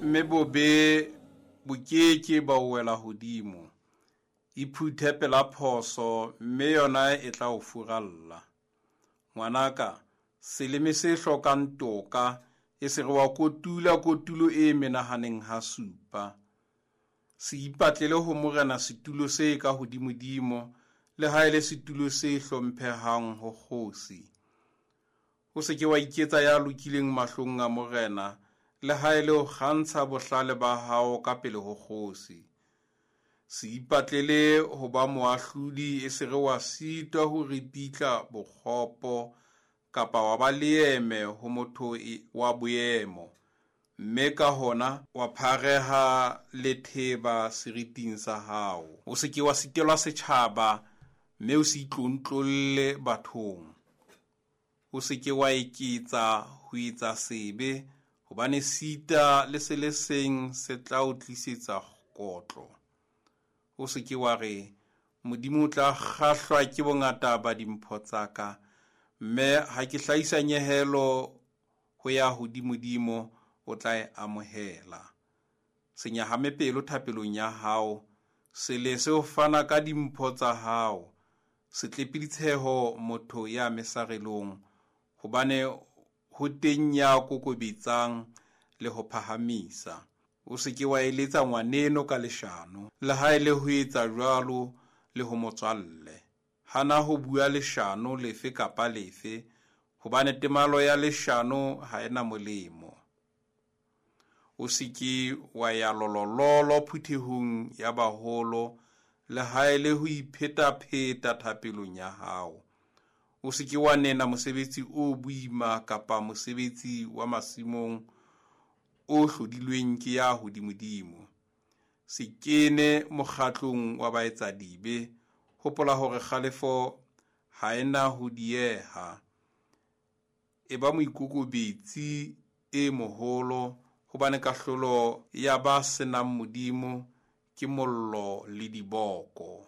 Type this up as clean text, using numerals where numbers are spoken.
Mme bobe bo ke ke ba o wela hodimo. Iphuthe pela phoso, mme yona e tla o furalla. Ngwanaka, seleme se hlokang toka, e se re wa kotula kotulo e menahaneng ha supa. Se ipatlele ho morena setulo se ka hodimodimo, le ha e le setulo se hlomphehang ho kgosi. O se ke wa iketsa ya lokileng mahlong a morena, le ha e le ho kgantsha bohlale ba hao ka pele ho kgosi. Se ipatlele ho ba moahlodi, e se re wa sitwa ho ripitla bokgopo, kapa wa ba leeme ho motho wa boemo, mme ka hona wa phareha letheba seriting sa hao. O se ke wa sitelwa setjhaba, mme o se itlontlolle bathong. O se ke wa eketsa ho etsa sebe, hobane sita le se le seng se tla o tlisetsa kotlo. O se ke wa re, Modimo o tla kgahlwa ke bongata ba dimpho tsa ka, mme ha ke hlahisa nyehelo ho ya hodimodimo, o tla e amohela. Se nyahame pelo thapelong ya hao, se lese ho fana ka dimpho tsa hao, se tlepe ditsheho motho ya mesarelong, hobane ho teng ya kokobetsang le ho phahamisa. O se ke wa eletsa ngwaneno ka leshano, le ha e le ho etsa jwalo le ho motswalle. Hana ho bua leshano lefe kapa lefe, hobane temalo ya leshano ha e na molemo. O se ke wa ya lolololo phuthehong ya baholo, le ha e le ho iphetapheta thapelong ya hao. O se ke wa nena mosebetsi o boima kapa mosebetsi wa masimong o hlodilweng ke ya hodimodimo. Se kene mokgatlong wa baetsadibe, hopola hore kgalefo ha e na ho dieha. E ba moikokobetsi e moholo, hobane kahlolo ya ba senang Modimo ke mollo le diboko.